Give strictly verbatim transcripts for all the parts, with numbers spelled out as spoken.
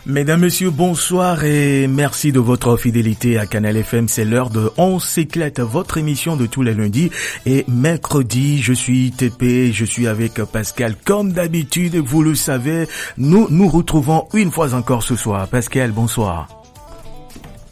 Mesdames, Messieurs, bonsoir et merci de votre fidélité à Canal F M. C'est l'heure de On s'éclate, votre émission de tous les lundis et mercredis. Je suis T P, je suis avec Pascal. Comme d'habitude, vous le savez, nous nous retrouvons une fois encore ce soir. Pascal, bonsoir.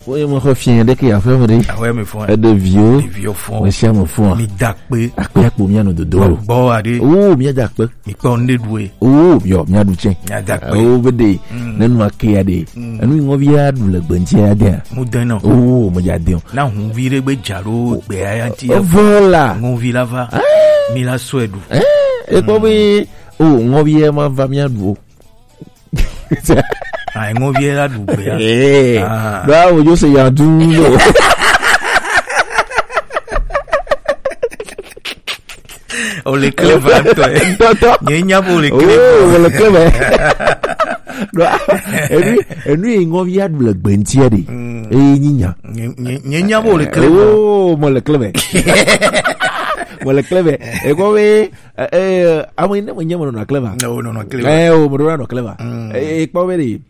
Oui, mon refien, dès qu'il y a fait, on dit. Ah ouais, mais faut. De vieux. De vieux fond. Mais c'est mon fond. Mais d'acpé. Acpé, acpé, bien de dos. Bon, allez. Oh, bien d'acpé. Mais pas on est doué. Oh, bien, bien du tien. Bien d'acpé. Oh, bédé. Nenu ake ade. Enu ngo via du le gbentia ade. Mudeno. Oh, mo ya de. Na hun vire gbe jaro gbe ayanti. Oh, voilà. Ngo vila va. Mi la swedu. Eh, e ko bi. Oh, ngo via ma va mi adu. Ah, ngo via la du gbe. Eh. Ah. Ba wo yo se ya du. O le clever ŋutɔ, eh. Ŋutɔ. Nye nya be o le clever. Oh, o le clever. Ɖo, enu, enu yi ŋɔvi aɖu le gbe ŋutia ɖe. Mm. Eye nyi nya. Nye, nye, nye nya be o le clever. Oh, mo le clever. Mo le clever. Ekɔ be, eh, eh, ame yi ne me nye me nɔnɔ clever. Ne o nɔnɔ clever. Eh, o me nɔnɔ clever. Mm. Eh, ekpɔ be ɖe.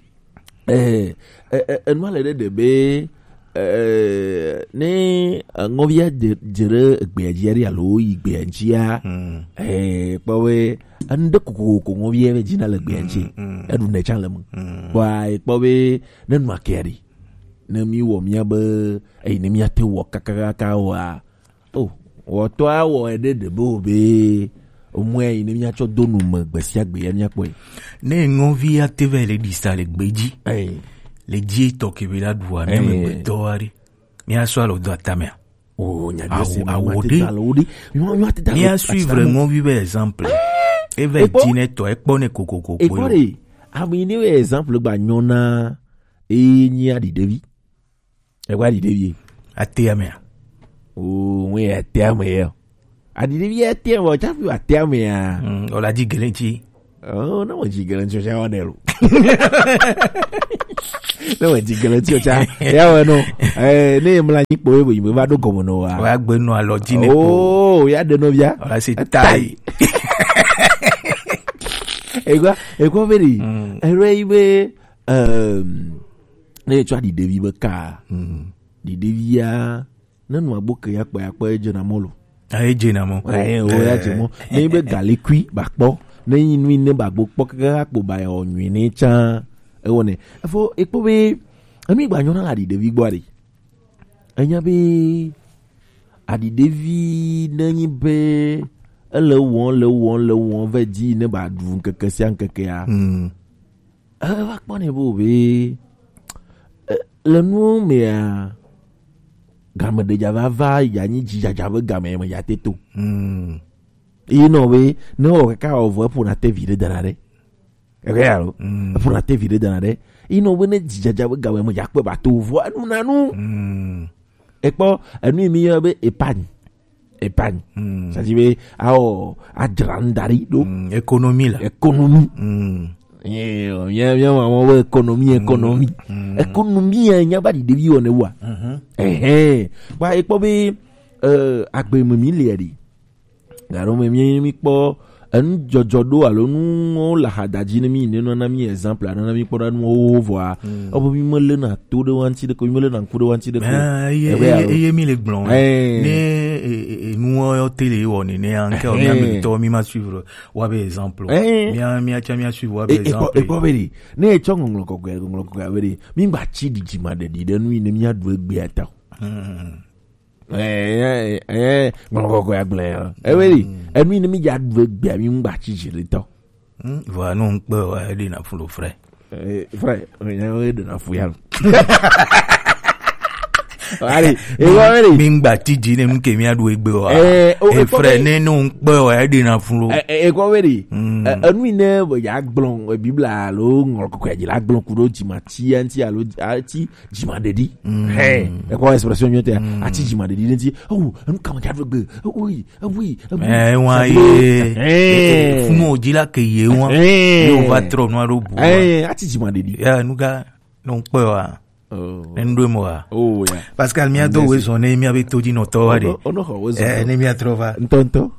Eh, eh, eh, enua le ɖe ɖe be, eh, ne, eh, ŋɔvia dze, dze ɖe egbea dzia ɖi alo yi gbea dzia, mm, eh, kpɔ be, enu ɖe kokoko ŋɔvia be dzina le gbea dzi, mm, mm, eɖu ne tsã le me. Mm. Kpɔa, ekpɔ be, ne nua kea ɖi, ne mi wɔ mia be, eyi ne mia te wɔ kakakaka oa, Oh, wɔtɔ awɔ eɖe ɖe be o be omɔe yi ne miatsɔ do nu me gbe sia gbe ya miakpɔe. Ne ŋɔvi ya te va le ɖi sa le gbe dzi. Ayi. Le dzi etɔ ke be la ɖu ame me gbe tɔ wa ɖe. Mia sɔ alo do atamea. Oh, nya ɖe se awo ɖe. Awo ɖe. Mia suivre ŋɔvi be exemple. Eve dzi ne tɔ ekpɔ ne kokoko kpɔ. Ekpɔ ɖe. Ame yi ne be exemple gba nyɔ na. Eye nyi aɖi ɖevi. Egba ɖi ɖevi. Atea mea? Oo, ŋue atea me ya. Aɖi ɖevi atea me, tsafi atea mea. Mm, o la dzi gele ŋuti. Oh, ne me dzi gele ŋuti, o tsa wa ɖe lo. Ne me dzi gele ŋuti, o tsa. Ya wɔ no. Eh, ne mla nyi kpo, ebe, va ɖo gɔme no wa. Wa gbe no alɔ dzi ne kpo. Oh, ya ɖe no via. O la si tai. Egba, egba be ɖi. Mm. Ere yi be, ehm, Ne etsɔ aɖi ɖevi be ka. Mm. Ɖi ɖevia, ne nu agbo ke ya kpa ya kpa, edze na mɔ lo. Ah, edze na mɔ. Eh, o ya dze mɔ. Ne be galikui ba kpɔ. Ne yi nu ne ba gbo kpɔ kaka kpo ba ya o nyui ne tsa. Ewɔ ne. Efo ekpɔ be, enu gba nyɔ na la ɖi ɖevi gbɔ aɖi. Enya be, aɖi ɖevi ne nyi be, ele wɔm, le wɔm, le wɔm, ve dzi ne ba ɖu ŋkeke sia ŋkekea. Mm. Eva kpɔ nɛ bo be, eh, le nuwo mea, game ɖe dza va va ya nyi dzidzadza be game me ya te to. Mm. Yi nɔ be, ne wɔ kaka wɔ vɔ, eƒona te vi ɖe dana ɖe. Eke ya lo. Mm. Eƒona te vi ɖe dana ɖe. Yi nɔ be ne dzidzadza be game me ya kpe ba to vɔ, enu na nu. Mm. Ekpɔ, enu yi mi yɔ be épargne. Épargne. Mm. C'est-à-dire be, awo, adzra nu da ɖi ɖo. Mm. Économie la. Économie. Mm. Ye, ye, ye, wa, wa, wa, économie, économie. Mm. Économie, ya, nya ba ɖi ɖevi wɔ ne wa. Mhm. Ehe. Wa, ekpɔ be, euh, agbe me mi le ɖi. Garo me mi, mi kpɔ, enu dzɔdzɔ ɖo alo nuwo le ahadadzi ne mi, ne nɔ na mi exemple, nɔ na mi kpɔ ɖa nuwo vɔa. Mm. Ebo mi me le na to ɖe wa ŋuti ɖe ko, mi me le na ŋku ɖe wa ŋuti ɖe ko. Ah, eye, eye, eye mi le gblɔ. Eh. Ne, e, e, e, nuwo yɔ te le wɔ nenea, nke o mi ame tɔ mi ma suivre wa be exemple. Eh. Mi a, mi a tsa mi a suivre wa be exemple. Ekpɔ be ɖi. Ne etsɔ ŋɔŋlɔ kɔkɔe, ŋɔŋlɔ kɔkɔe be ɖi. Mi gba tsi ɖidzima ɖeɖi ɖe nu yi ne mi a ɖu egbe ata. Hmm. Eh, eh, eh, ŋlɔ kɔkɔe agblẽ ya. Ewe li, enu yi ne mi dza ɖu egbea mi ŋgba tsi dzi ɖe tɔ. Hmm, vɔa, ne ŋkpe wa, eɖe na fu lo, frère. Eh, frère, eh, eh, eɖe na fu ya lo. Allez, eh, wa, allez. Mi ŋgba tsi dzi ne nu ke mi aɖu egbe wa. Eh, oh, eh, frère, ne, ne ŋkpe wa, eɖe na fu lo. Eh, eh, eh, kɔ we ɖi. Hmm. Eh, enu yi ne be ya gblɔ, eh, Biblia alo ŋlɔ kɔkɔe dzi la gblɔ ku ɖo dzi ma tsi ya ŋuti alo, ah, tsi Dzimaɖeɖi. Mm. Hɛ, ekɔ expression nyuie tɛ. Mm. Ati dzimaɖeɖi ɖe ŋuti. Oh, enu kama dza ɖo gbe. Oh, oui, oh, oui, oh, oui. Eh, wa ye. Eh. Funu o dzi la ke ye wa. Eh. Ye o va trɔ nua ɖo bu. Eh, ati dzimaɖeɖi. Ya, nu ka, no kpe wa. Oh. Ne nu ɖo mo wa. Oh, ya. Pascal, mia do we zɔn ne mia be to dzi nɔtɔ wa ɖe. Ono, ono xɔ we zɔn. Eh, ne mia trɔ va. Ŋutɔ, ŋutɔ.